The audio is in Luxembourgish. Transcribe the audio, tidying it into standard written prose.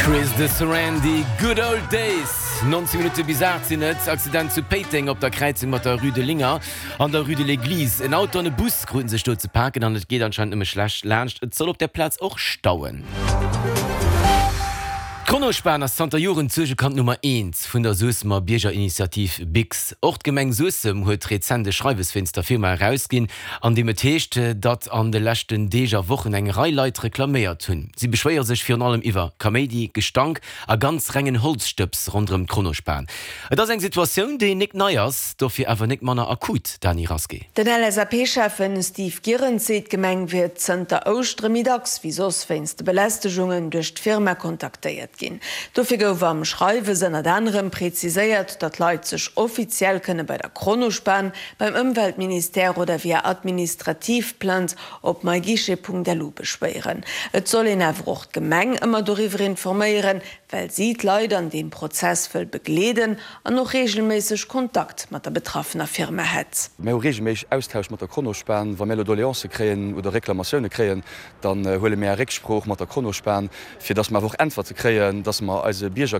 Chris de Sarandy, Good Old Days! 19 Minutte bis 8 sinn et. Accident zu Péiteng op der Kräizung mat der Rue de Linger an der Rue de l'Eglise. En Auto an e Bus kruten sech do ze paken an et geet anscheinend nëmme schlecht laanscht. Et soll op der Plaz och stauen. D'Kronospan ass zanter Joren d'Suergekand Nummer eent vun der Suessemer Biergerinitiativ Bix. Och d'Gemeng Suessem huet rezent e Schreiwes wéinst der Firma erausginn, an deem et heescht, datt an de leschten Deeg a Wochen eng Rei Leit reklaméiert hunn. Si beschwéiere sech virun allem iwwer Kaméidi, Gestank a ganz rengen Holzstëbs ronderëm d'Kronospan. Et ass eng Situatioun, déi nik nei ass, dofir awer nik manner akut, Dany Rasqué. Den LSAP-Schäffen Steve Gierenz seet, d'Gemeng wier zënter Ouschtere méi dacks wéi soss wéinst de Belästegungen duerch d'Firma kontaktéiert ginn. Dofir gouf am Schreiwes ënnert anerem preziséiert, datt Leit sech offiziell kënne bei der Kronospan, beim Ëmweltministère oder via administrativ Plainte op myguichet.lu beschwéieren. Et soll een awer och d'Gemeng ëmmer doriwwer informéieren, well si d'Leit an deem Prozess wëll begleeden an och reegelméisseg Kontakt mat der betraffener Firma hätt. Mir hu reegelméisseg Austausch mat der Kronospan. Wa mir elo Doleancë kréien oder Reklamatioune kréien, dann huele mär Récksprooch mat der Kronospan, fir datt mer awer och Äntwerte kréien, datt mer eise Bierger.